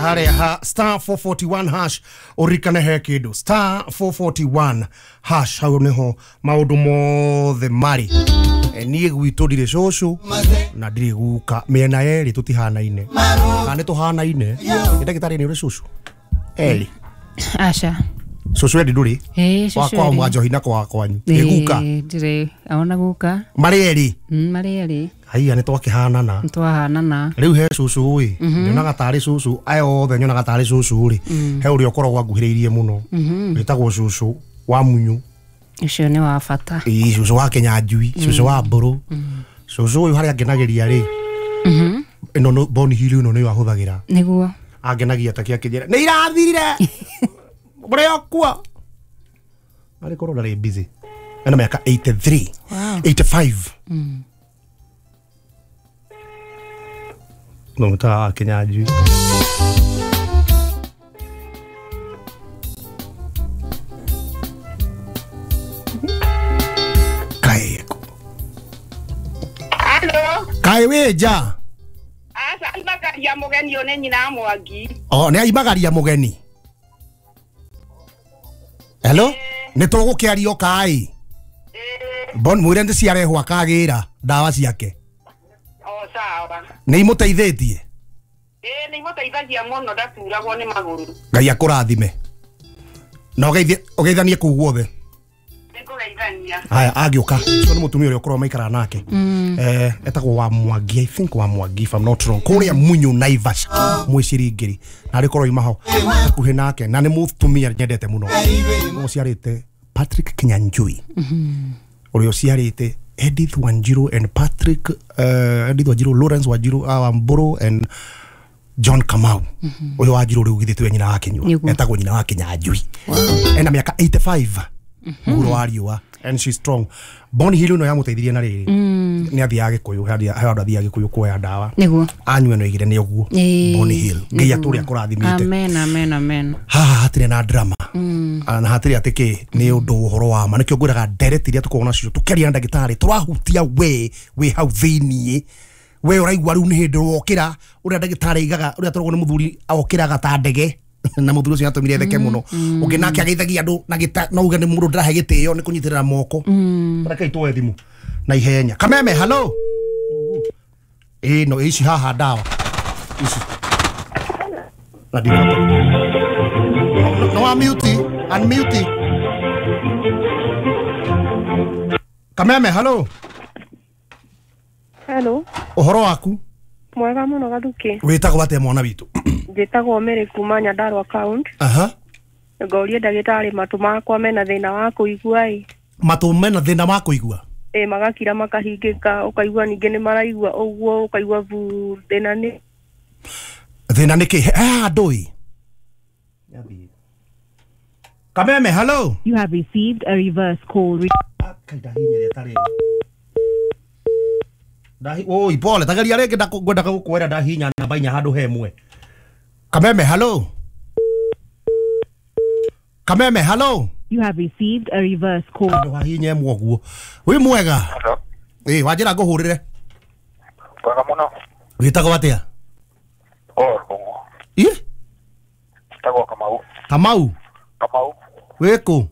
Harĩa ha star 441 hash ũririkane he kĩndũ star 441 hash hau nĩho maũndũ mothe marĩ. Niĩ gwitũ ndirĩ cũcũ na ndirĩ guka, mĩena yerĩ tũtihanaine kana nĩ tũhanaine. Nĩ ndagĩtarĩ nĩ ũrĩ cũcũ erĩ? Aca. Cũcũ endi ndũrĩ? Ĩĩ, cũcũ wakwa erĩ. Mwa njohi na kwa kwanyu nĩ guka? Ĩĩ, ndirĩ ona guka. Marĩ erĩ? Marĩ erĩ. Haiya, nĩ twakĩhanana. Nĩtwahanana. Rĩu he cũcũ ĩ nyonaga tarĩ cũcũ, aya othe nyonaga tarĩ cũcũ rĩ, he ũrĩa ũkoragwo anguhĩrĩirie mũno wĩtagwo cũcũ wa Munyu. Ũcio nĩ wa bata. Ĩĩ, cũcũ wa Kĩnyanjui, cũcũ wa Mbũrũ. Cũcũ ũyũ harĩa angenagĩria rĩ, ĩno Boni Hill ĩno nĩyo ahũthagĩra. Nĩguo. Angenagia ta kĩakĩnjĩra nĩ irathirire mũrĩ okua arĩ korwo ndarĩ busy, ena mĩaka 83. Wow. 85 no mũtawa wa Kĩnyanjui. Kaĩ Halo, kaĩ wĩ nja? aca imagaria mũgeni ũyũ nĩ nyina wa Mwangi. O nĩ aimagaria mũgeni. Hello, nĩ tũgũkĩario kaĩ bon mwĩre nĩ ciarehwo akagĩra ndawa ciake. O sawa. Nĩ imũteithĩtie? Ĩĩ, nĩ imũteithagia mũno, ndaturagwo nĩ magũrũ. Ngai akũrathime na ũgeithanie kũu guothe. Nĩngũgeithania. Haya, agĩũka ũcio nĩ mũtumia ũrĩa ũkoragwo maikaraga nake, etagwo wa Mwangi, I think wa Mwangi if I'm not wrong, kũrĩa Munyu Naivasha mwĩciringĩri na arĩ korwo imaho hakuhĩ nake, na nĩ mũtumia nyendete mũno ũciarĩte Patrick Kinyanjui, ũrĩa ũciarĩte Edith Wanjiru and Patrick, Edith Wanjiru, Lawrence Wanjiru Wamburu and John Kamau. Ũyũ Wanjiru rĩu githĩ tiwe nyina wa Kinyua? Nĩguo. Etagwo nyina wa Kinyanjui, ena mĩaka 85 mũhuro wa riũa, and she's strong. Boni Hill ĩno yamũteithirie na rĩrĩ nĩ athiaga Gĩkũyũ, he handũ athiaga Gĩkũyũ kuoya ndawa. Nĩguo. Anyua no igire nĩ ũguo. Ĩĩ, Boni Hill, Ngai nĩguo. atũrĩa akũrathimĩte. Amen, amen, amen. Haha hatirĩ na drama na hatirĩ atĩ kĩ nĩ ũndũ ũhoro wa ma, nĩkĩo ngwĩraga ndereti iria tũkoragwo nacio tũkĩaria na ndagĩtarĩ tũrahutia we wĩ hau thĩiniĩ, we ũraigua rĩu nĩ hĩndĩ wokĩra ũrĩa ndagĩtarĩ aigaga ũrĩa tũragwo nĩ mũthuri okĩraga ta ndege, na mũthuri ũcio atũmire theke mũno, ũngĩ nake ageithagia andũ na gĩta no uge nĩ mũndũ ndĩrahe gĩtĩo nĩ kũnyitĩrĩra moko. Rekei tuoe thimũ na ihenya. Kameme, hello. Ĩĩ, no ici haha ndawa ici na ndikũhota. No unmute, unmute. Kameme, hello. Hello, Ũhoro waku? Mwega mũno Gathuki. Wĩtagwo atĩa mwana witũ? Njĩtagwo Mary kuma Nyandarua County. Aha. Ngorie ndagĩtarĩ matũ makwa mena thĩna wa kũigua ĩ. Matũ mena thĩna wa kũigua? Ĩ, magakira makahingĩka, ũkaigua ningĩ nĩ maraigua ũguo, ũkaigua bu thĩna nĩ Thĩna nĩ kĩ? He handũ ĩ. Kameme, hello. You have received a reverse call. Kai ndahinya rĩta rĩrĩ. Ndahi oi pole, tageria rĩngĩ, ngwendaga gũkwĩra ndahinya namba inya handũ he ĩmwe. Kameme, hello. Kameme, hello. You have received a reverse call. Handũ hahinya ĩmwe ũguo. Wĩ mwega? Hello. Ĩ, wanjĩra ngũhũrĩre. Mwega mũno. Wĩtagwo atĩa? Oh, Rũng'ũ. Ĩ? Njĩtagwo Kamau. Kamau, Kamau. wĩ kũ?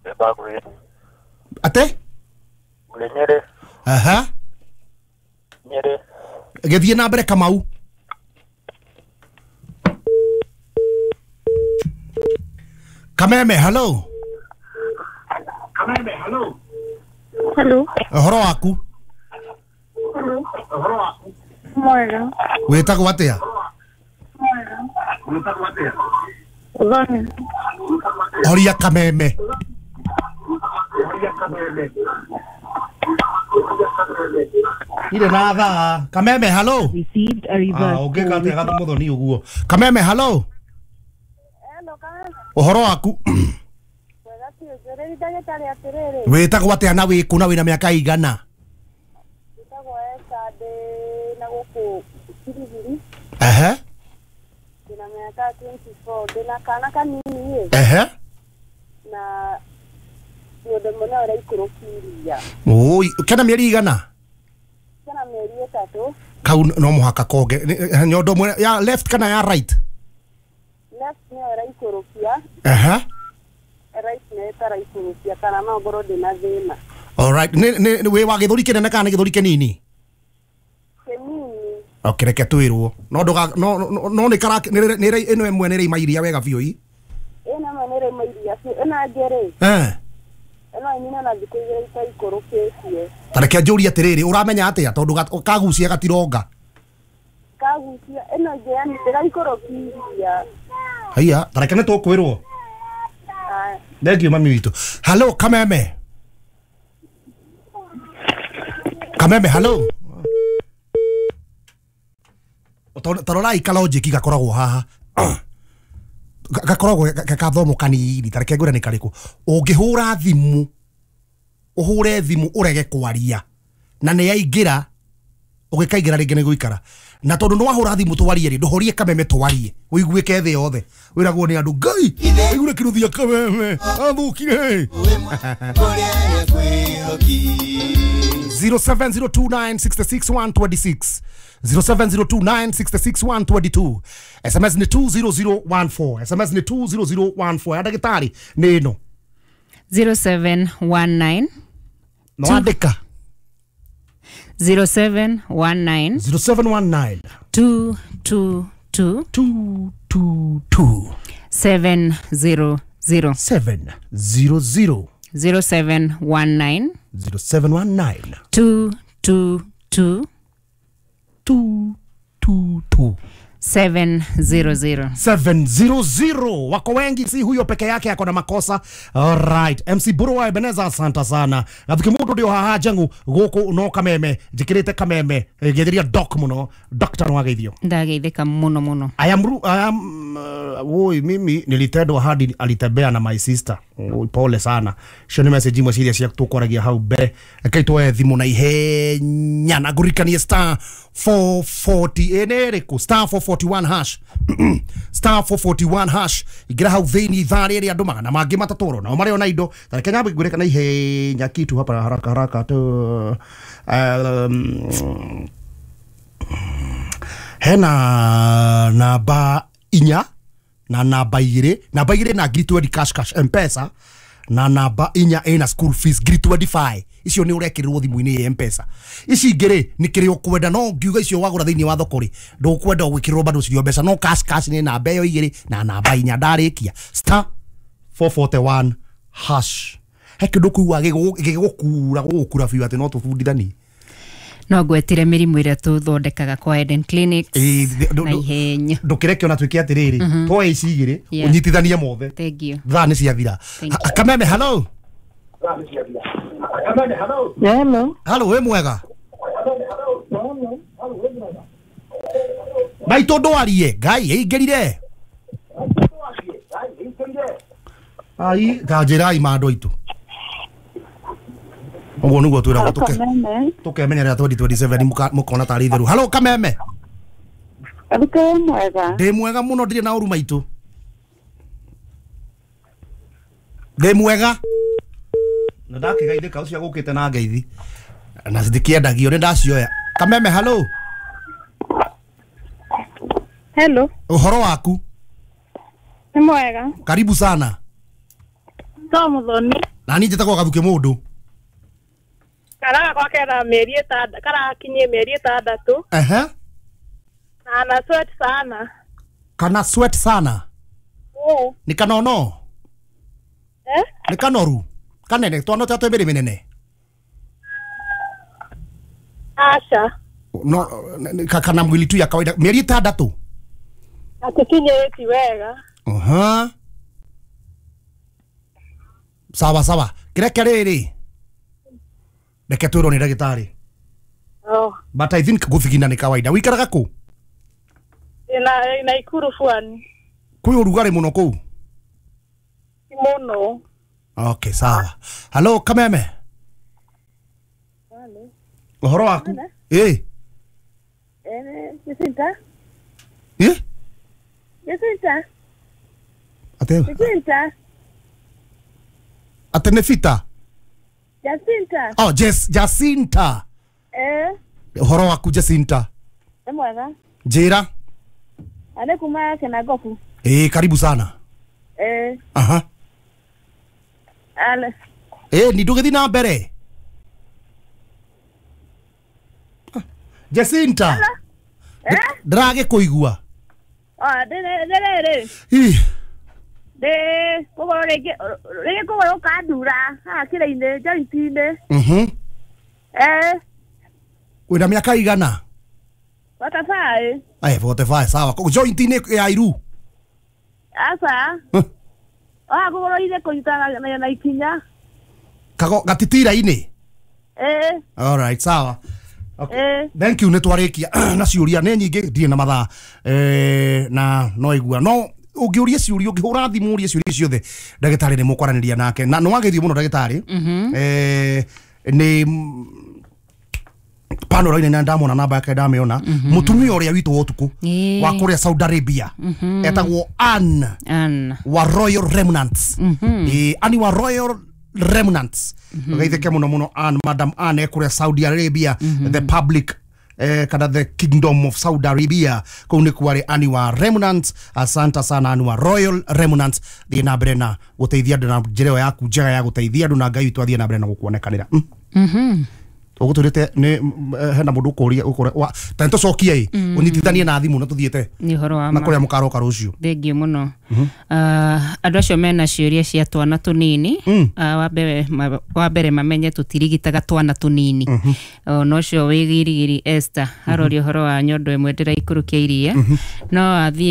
Ndĩ Atĩ? Ngũrĩ Nyĩrĩ. Aha. Nyĩrĩ. Gĩthiĩ na mbere Kamau. Kameme, hello. Hello, Ũhoro waku? Mwega. Wĩtagwo atĩa? Thoni. Horia Kameme. Irĩ na thaa. Kameme, hello. Received a reverse Ah, ũngĩka call. atĩa Gathu Mũthoni ũguo? Kameme, hello. Hello, Kameme. Ũhoro waku? Mwega biũ, njũrĩri ndagĩtarĩ atĩrĩrĩ, Wĩtagwo atĩa na wĩkũ na wĩna mĩaka igana? njĩtagwo Esther, ndĩ na gũkũ Kirigiri, Ehe. ndĩna mĩaka 24, ndĩna kana kanini ĩ, Ehe. na mũndũ mũna ũraikũrũkia iria. Oi, kena mĩeri igana? Kena mĩeri 3. Kau no muhaka konge nyondo mwe ya left kana ya right? Left nĩyo ĩraikũrũkia. Aha. Right nĩyo ĩtaraikũrũkia kana no ngorwo ndĩna thĩna. All right, nĩ wĩ wa gĩthũri kĩnene kana nĩ gĩthũri kĩnini? Kĩnini. Okay, reke twĩrwo no ndũga no no nĩ kara nĩ ĩno ĩmwe nĩ ĩraima iria wega biũ i. Ĩno ĩmwe nĩ ĩraima iria biũ, ĩno ĩngĩ rĩ, ĩno ĩnine na thikũ igĩrĩ itaikũrũkĩtie. Ta reke njũrie atĩrĩrĩ, ũramenya atĩa tondũ kagucia gatironga? Kagucia ĩno ĩngĩ yani ndĩraikũrũkia iria. Haiya, ta reke nĩ tũkwĩrwo. Thank you mami witũ. Hello Kameme. Kameme, hello. Tarorai kalojiki gakoragwo haha. Gakoragwo gathomo kanini, ta reke ngwĩre nĩ karĩkũ. Ũngĩhũra thimũ, ũhũre thimũ ũrege kwaria na nĩ yaingĩra, ũgĩkaingĩra rĩngĩ nĩ gũikara. Na tondũ nĩ wahũra thimũ twarie rĩ, ndũhorie Kameme twarie, ũiguĩke thĩ yothe. Wĩragwo nĩ andũ, Ngai, aigure kĩrũthia Kameme, athũkire. 07029666126 07029666122 SMS ni 20014 SMS ni 20014 ya ndagĩtarĩ nĩ ĩno 0719 no andĩka 0719 0719 222 222 700 700 0719 0719 222 222 700 700. Wako wengi, si huyo peke yake ako na makosa. Alright, MC Buru wa Ebeneza, asante sana. Gathuki mundu ndio haha njangu guku no Kameme, njikirite Kameme, ngetheria doc muno, doctor no ageithio. Ndageithĩka muno muno. I am woi, mimi nilitendwa hadi alitembea na my sister. Oi, pole sana. Cio nĩ message imwe ciria cia tũkwaragia hau mbere. Rekei tuoe thimũ na ihenya na ngũririkanie star 440 ĩnĩ ĩrĩkũ? Star 441 hash. Star 441 hash. Ingĩra hau thĩinĩ ithaa rĩrĩ andũ magana mangĩ matatũ nao marĩ ona indo. Ta reke nyambe ngwĩre kana ihenya kitu hapa haraka haraka tu. Hena namba inya na namba igĩrĩ, namba igĩrĩ na ngiri 20 cash cash M-Pesa, na namba inya ĩna school fees ngiri 25. Icio nĩ ũrekĩrĩrwo thimũ-inĩ ya M-Pesa. Ici ingĩ rĩ nĩ kĩrĩa ũkwenda, no ngiuga icio wagũra thĩinĩ wa thoko rĩ ndũkwenda gwĩkĩrĩrwo bado cirio mbeca, no cash cash nĩ namba ĩyo igĩrĩ na namba inya. Ndarĩkia star 441 hash. He kĩndũ kũigua gĩgũkura gũgũkura biũ atĩ no tũbundithanie. No ngwetire mĩrimũ ĩrĩa tũthondekaga kwa Eden Clinics na ihenya. Ndũkĩreke ona twĩke atĩrĩrĩ, twoe ici igĩrĩ ũnyitithanie mothe. Thank you. Thaa nĩ ciathira. Kameme, hello. Hello. Hello, wĩ mwega? Maitũ ndwarie, Ngai ĩingĩrire. Ai, ta njĩrai ma andũ aitũ. Ũguo nĩguo twĩragwo tũkemenyerera 2027 mũkona tarĩ itheru. Hello Kameme. Wĩ mwega? Ndĩ mwega mũno, ndirĩ na ũru maitũ. Ndĩ mwega. Na ndakĩgeithĩka ũcio agũkĩte na ngeithi na ndikĩendagio nĩ ndacioya. Kameme, hello. Hello. Ũhoro waku? Nĩ mwega. Karibu sana. To Muthoni. Na niĩ njĩtagwo Gathuki Mũndũ. Karaga kwa kera mĩeri ĩtandatũ, karakinyie mĩeri ĩtandatũ. Ehe. Na ana sweat sana. Kana sweat sana? Nĩ kanono? Eh? Nĩ kanoru? Kanene, twana twa twĩ mĩrĩ mĩnene? Aca. No, kana mwili tu ya kawaida. Mĩeri ĩtandatũ? Atikinyĩti wega. Aha. Sawa sawa. Kĩreke rĩrĩ. Reke twĩrwo nĩ ndagĩtarĩ. Oh. But I think gũthigina nĩ kawaida. Wĩikaraga kũ? Na Naikuru Pwani. Kwĩ ũrugarĩ mũno kũu? Mũno. Okay, sawa. Hello Kameme. Hello. Ũhoro waku? Ĩ. Jacinta. Ĩ? Jacinta. Ate. Jacinta. Ate nĩ Fita? Jacinta. Oh, Jacinta. Eh. Ũhoro waku Jacinta? Nĩ mwega. Njĩra. Nĩ kuma Kĩnangobu. Ĩĩ, karibu sana. Ĩĩ. Aha. Ale. Ĩĩ, ni ndũgĩthiĩ na mbere. Jacinta. Ndĩragĩkũigua. Ndĩrĩrĩ. Ih. Ndĩ kũgũrũ rĩngĩ rĩngĩ kũgũrũ kandura haha kĩrĩ-inĩ joint-inĩ. Mhm. Eh. Wĩna mĩaka igana? 45. Aya, 45 sawa. Joint-inĩ ya iru? Aca. Haha kũgũrũ-inĩ kũnyitana na ikinya. Kago gatitira-inĩ? Eh. All right, sawa. Okay. Thank you, nä twarä na ciå nä nyingä ndirä na mathaa na no igua no å ngä å rie ciå ria å ngä hå ra thimå å rie ciå ria ciothe ndagätarä nä må kwaranä ria nake na nä wagä thio må no ndagätarä nä panoro-inä na ndamona namba yake ndamä ona må tumia å rä a witå wa å tukå wa kå rä a Saudi Arabia etagwo Ann wa Royal Remnants. Ann wa Royal Remnants. Gaitheke muno muno Ann, Madam Ann ekũrĩa Saudi Arabia, the public kana the kingdom of Saudi Arabia kũu nĩkuo arĩ Ann wa Remnants. Asante sana Ann wa Royal Remnants, thiĩ na mbere na gũteithia andũ na njĩra ĩyo yaku njega ya gũteithia andũ na Ngai witũ athiĩ na mbere na gũkuonekanĩra. Ũgũtwĩrĩte nĩ hena mũndũ ũkũria ta nĩtũcokie ĩ ũnyitithanie na thimũ na tũthiĩte nĩ ũhoro wa na kũrĩa mũkaroka rũciũ. Thengiũ mũno. Andũ acio mena ciũria cia twana tũnini, wa mbere mamenye tũtirigitaga twana tũnini. Ona ũcio wĩ Girigiri Esther aroria ũhoro wa nyondo ĩmwe ndĩraikũrũkia iria, no athiĩ